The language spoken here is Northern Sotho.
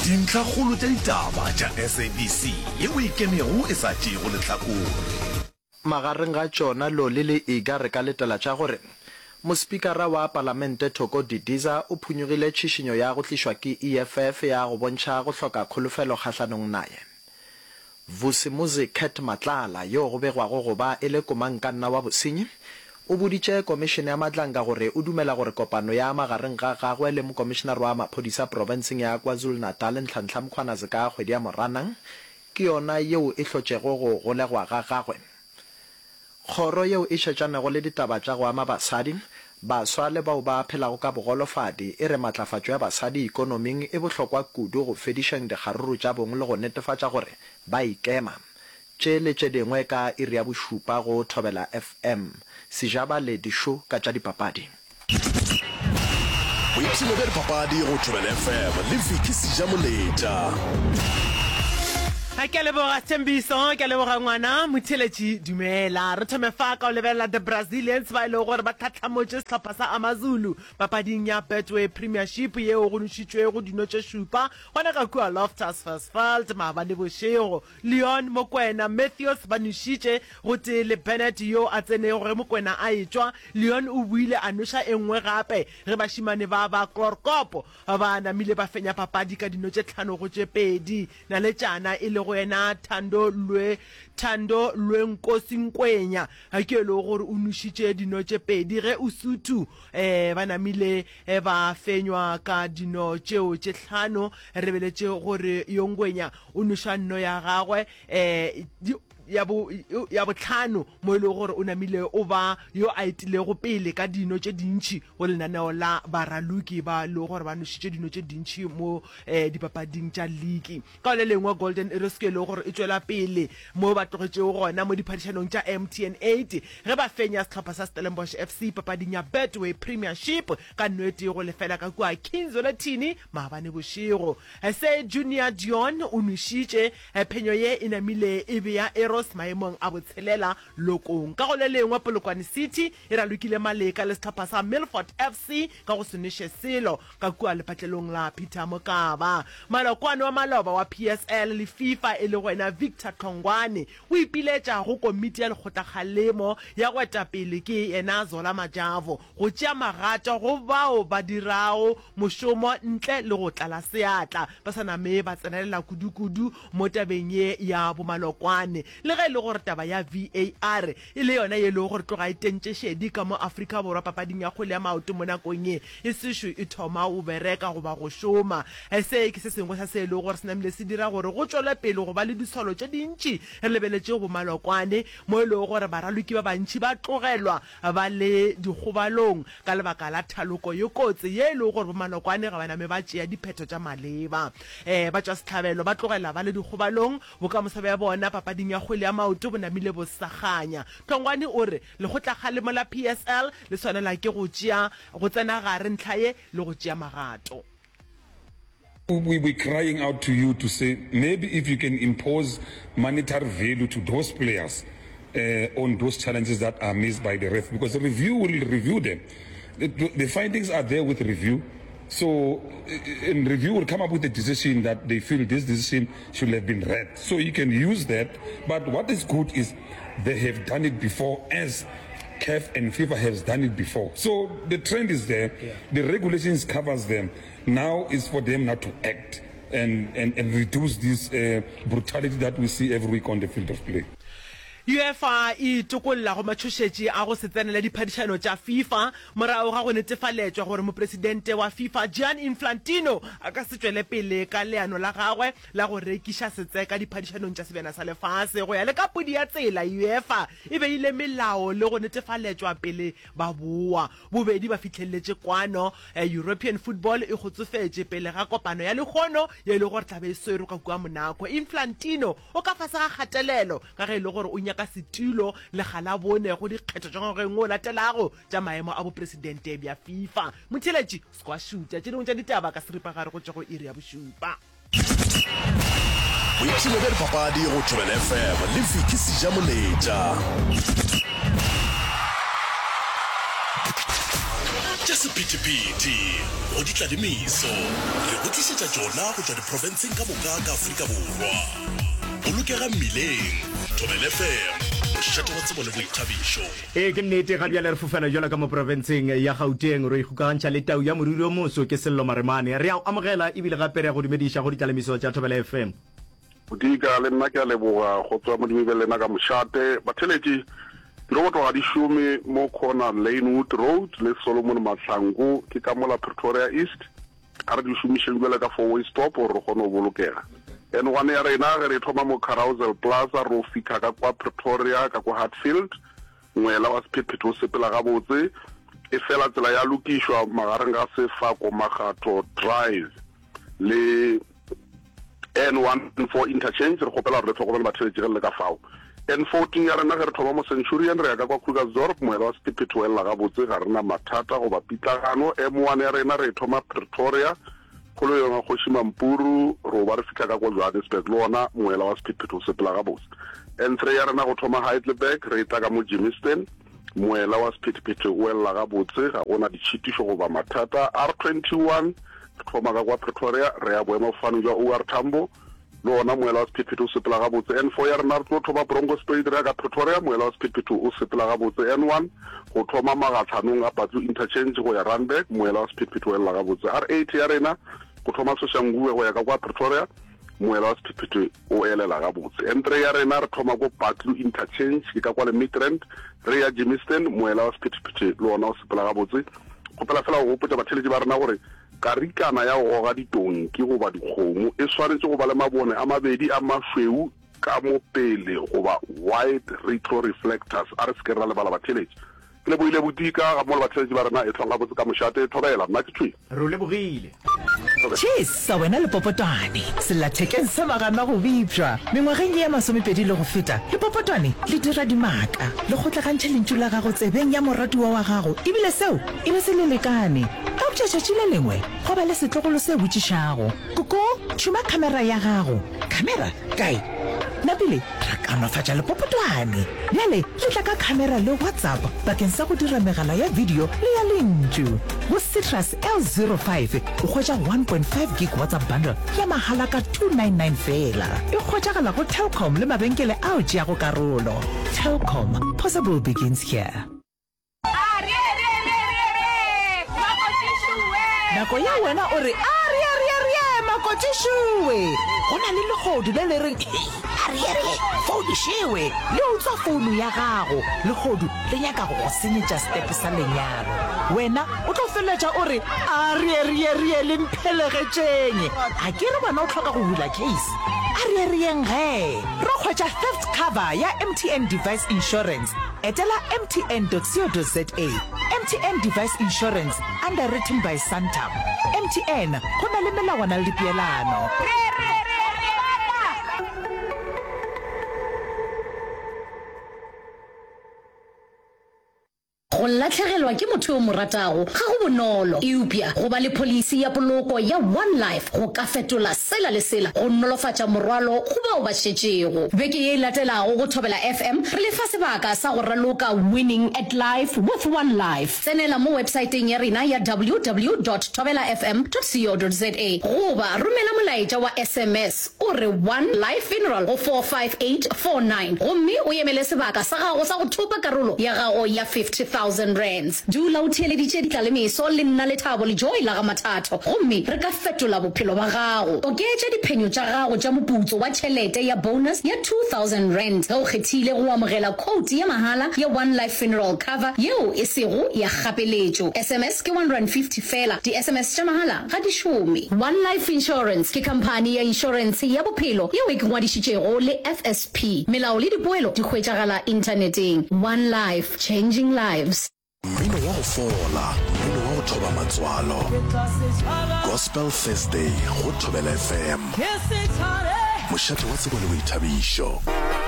Dintlhakgolo tša ditaba tša SABC yeo e ikemego e sa tšeego lehlakore. Magareng ga tšona Loli le Iga re ka letela tša gore Mospikara wa Palamente Thoko Didiza o phunyugile tšhišinyo ya go tlišwa ke EFF ya go bontšha go hloka kholofelo kgahlanong naye. Vusimuzi Cat Matlala, yo go begwago go ba e le komangkanna wa bosenyi, o boditše Komišene ya Madlanga gore o dumela gore kopano ya magareng ga gagwe le Mokomišenare wa Maphodisa profenseng ya KwaZulu-Natal Nhlanhla Mkhwanazi ka kgwedi ya Moranang ke yona yeo e hlotšego go golegwa ga gagwe. Kgoro yeo e šetšanego le ditaba tša go ama basadi, baswa le bao ba phelago ka bogolofadi e re matlafatšo ya basadi ikonoming e bohlokwa kudu go fedišeng dikgaruru tša bong le go netefatša gore ba ikema. Tše le tše dingwe ka iri ya bošupa go Thobela FM. Sejaba le Dišo ka tša dipapadi. Boipshino bja dipapadi go Thobela FM le Vicky Sejamoletša. Ke a leboga Sthembiso, ke a leboga ngwana motheeletši. Dumela. Re thome fa ka go lebelela The Brazilians ba e lego gore ba tlhatlhamotše sehlopha sa Amazulu papading ya Betway Premiership yeo go nošitšwego dino tše šupa gona ka kua Loftus Versfeld maabane bošego. Leon Mokwena, Matthews ba nošitše gotee le Bennett yo a tsenego ge Mokwena a etšwa. Leon o boile a noša e nngwe gape ge bašemane ba ba Chloorkop ba namile ba fenya papadi ka dino tše tlhano go tše pedi. Naletšana e lego yena Thando Lwe Thando Lwenkosi Nkwenya ke e lego gore o nošitše dino tše pedi ge Usuthu ba namile ba fenywa ka dino tšeo tše tlhano. Re beletše gore yo Ngwenya o noša nno ya gagwe ya bo ya bohlano mo e lego gore o namile o ba yo a etilego pele ka dino tše dintši go lenaneo la baraloki ba lego gore ba nošitše dino tše dintši mo dipapading tša liki. Ka le lengwe Golden Arrows ke e lego gore e tšwela pele mo ba tlogetšego gona mo diphadišanong tša MTN 8 ge ba fenya sehlopha sa Stellenbosch FC papading ya Betway Premiership ka nno e tee go lefela ka kua King Zwelithini maabane bošego. Se Junior Dion o nwešitše phenyo ye e namile e bea Arrows maemong a botshelela lokong. Ka go le lengwe Polokwane City e ralokile maleka le sehlopha sa Milford FC ka go se nweše selo ka kua lepatlelong la Peter Mokaba. Malokwane wa maloba wa PSL le FIFA e lego yena Victor Hlongwane o ipiletša go komiti ya lekgotlakgalemo ya go etapele ke yena Zola Majavo go tšea magato go bao ba dirago mošomo ntle le go tlala seatla, ba sa name ba tsenelela kudukudu mo tabeng ye ya bomalokwane. Le ge e le gore taba ya VAR e le yona ye e lego gore tloga e tentše šedi ka mo Afrika Borwa papading ya kgwele ya maoto mo nakong ye e sešo e thoma go bereka goba go šoma, se ke se sengwe sa se e lego gore se namile se dira gore go tšwelwe pele go ba le disolo tše dintši re lebeletše bomalokwane mo e lego gore baraloki ba bantši ba tlogelwa ba le dikgobalong ka lebaka la thaloko ye kotsi ye e lego gore bomalokwane ga ba name ba tšea diphetho tša maleba. Batšwasehlabelo ba tlogela ba le dikgobalong, bokamoso bja bona papading ya kgwele ya maoto bo namile bo sa kganya. Hlongwane o re lekgotlakgalemo la PSL le swanela ke go tšea go tsena gare ntlha ye le go tšea magato. We we crying out to you to say maybe if you can impose monetary value to those players uh, on those challenges that are missed by the ref because the review will review them. The, the findings are there with review. So, in review will come up with a decision that they feel this decision should have been read. So you can use that. But what is good is they have done it before as CAF and FIFA has done it before. So the trend is there. Yeah. The regulations covers them. Now is for them not to act and, and, and reduce this uh, brutality that we see every week on the field of play. UEFA e itokolla go matšhošetši a go se tsenele diphadišano tša FIFA morago ga go netefaletšwa gore mopresidente wa FIFA Gianni Infantino a ka se tšwele pele ka leano la gagwe la go rekiša setseka diphadišanong tša Sebjana sa Lefase. Go ya le ka podi ya tsela, UEFA e beile melao le go netefaletšwa pele ba boa. Bobedi ba fihleletše kwano. European football e kgotsofetše pele ga kopano ya lehono ye e lego gore tla be e swerwe ka kua Monaco. Infantino o ka fase ga kgatelelo ka ge e le gore o nyaka setulo lekga la bone go dikgetho tša ngwageng o latelago tša maemo a bopresidente bja FIFA. Motheeletši o se ke wa šutha tše dingwe tša ditaba ka seripagare go tšwa go iri ya bošupa. Boipshino bja dipapadi go Thobela FM le Vicky Sejamoletša. Tša. sephethephethe, go ditlalemiso, re go tlišetša tšona go tšwa diprofenseng ka moka ka Afrika Borwa. Bolokega mmileng, Thobela FM, mošate wa tsebo le boithabišo. Ee, ke nnete, ga bjale re fofela bjalo ka mo profenseng ya Gauteng, ro ikgokagantšha le tau ya moriri o moso, ke Sello Maremane. Re a o amogela ebile gape re a go dumediša go ditlalemiso tša Thobela FM. Bodika, le nna ke a leboga go tswa Modimo be lena ka mošate. Batheletši, diroboto ga di šome mo corner Lanewood Road le Solomon Mahlangu, ke ka mola Pretoria East. A re di šomišeng bjale ka four way stop gore re kgone go bolokega. N1 ya rena ge re thoma mo Carousel Plaza ro fihla ka kwa Pretoria ka kwa Hatfield, ngwela wa sephethephethe o sepela gabotse, efela tsela ya lokišwa magareng ga Sefako Makgatho Drive le N14 Interchange, re kgopela gore le hlokomele batheeletši ge le le ka fao. N14 ya rena ge re thoma mo Centurion re ya ka kwa Krugersdorp, moela wa sephethephethe o elela gabotse, ga re na mathata goba pitlagano. M1 ya rena re e thoma Pretoria, kgoleyong ya Kgoši Mampuru, ro ba re fihla ka kwa Johannesburg, le wona moela wa sephethephethe o sepela gabotse. N3 ya rena go thoma Heidelberg re e tla ka mo Germiston, Moela wa sephethephethe o elela gabotse, ga go na ditšhitišo goba mathata. R21, re thoma ka kwa Pretoria, re ya boemafofaneng bja OR Tambo, le wona moela wa sephethephethe o sepela gabotse. N4 ya rena re tlo thoma Bronkhorstspruit re ya ka Pretoria, moela wa sephethephethe o sepela gabotse. N1, go thoma magahlanong a Patlu Interchange go ya Randburg, moela wa sephethephethe o elela gabotse. R8 ya rena, go thoma Soshanguve go ya ka kwa Pretoria, moela wa sephethephethe o elela gabotse. N3 ya rena re thoma ko Buccleuch Interchange, ke ka kwa le Midrand, re ya Germiston, moela wa sephethephethe le wona o sepela gabotse. Kgopela fela go gopotša batheeletši ba rena gore karikana ya go goga ditonki goba dikgomo e swanetše go ba le mabone a mabedi a mašweu ka mo pele goba white retro reflectors. A re se ke ra lebala batheeletši. Ke lebohile Bodika gammogo le batheeletši ba rena. Ehlwang gabotse ka mošate. Thobela. Nna ke thwi. Re o lebogile. Thobela. Tšhesa wena lepopotwane, sellathekeng sa magana go bipšwa. Mengwageng ye ya masomepedi le go feta, lepopotwane le dira dimaka, le kgotlagantšha lentšu la gago tsebeng ya moratiwa wa gago ebile seo e be se le lekane. Eupša tšatši le lengwe gwa ba le setlogolo se botšišago, Koko, tšhuma khamera ya gago. Khamera? Kae? Napile ra kaonafatša lepopotwane. Bjale le tla ka khamera le WhatsApp bakeng sa go dira megala ya video le ya lentšu. Go Citrus L05 o hwetša 1.5 gig WhatsApp bundle ya mahala ka 299 feela. E hwetšagala go Telkom le mabenkele ao tšeago karolo. Telkom, possible begins here. Nako ya wena o re, Arieerieerie, makotišoe! Go na le lehodu le le reng, Hei, arieerie, founu šewe! Le utswa founu ya gago. Lehodu le nyaka go go senyetša setepe sa lenyalo. Wena o tlo feleletša o re, Arieerieerie, le mphelegetšeng! A ke re wena o hloka go bula case? Arieerieng gee! Ro hwetša theft cover ya MTN Device Insurance. Etela mtn.co.za. MTN Device Insurance, underwritten by Santam. MTN, go na le melawana le dipeelano. Go lahlegelwa ke motho yo o mo ratago ga go bonolo, eupša go ba le pholisi ya poloko ya One Life go ka fetola sela le sela go nolofatša morwalo go bao ba šetšego. Beke ye e latelago go Thobela FM re le fa sebaka sa go raloka Winning at Life with One Life. Tsenela mo websaeteng ya rena ya www dot thobelafm dot co dot za goba romela molaetša wa SMS o re One Life Funeral go 45849 gomme o emele sebaka sa gago sa go thopa karolo ya gago ya R50,000. Dula o theeleditše Ditlalemeso le nna Lethabo le Joy la ga Mathatho gomme re ka fetola bophelo ba gago. Oketša diphenyo tša gago tša moputso wa tšhelete ya bonus ya R2000 ge o kgethile go amogela quote ya mahala ya One Life Funeral Cover yeo e sego ya kgapeletšo. SMS ke R150 feela. Di-SMS tša mahala ga di šome. One Life Insurance ke khamphani ya inšorentshe ya bophelo yeo e ngwadišitšego le FSP. Melao le dipoelo di hwetšagala inthaneteng. One Life, changing lives. Mmino wa go fola, mmino wa go thoba matswalo. Gospel Thursday go Thobela FM. Mošate wa tsebo le boithabišo.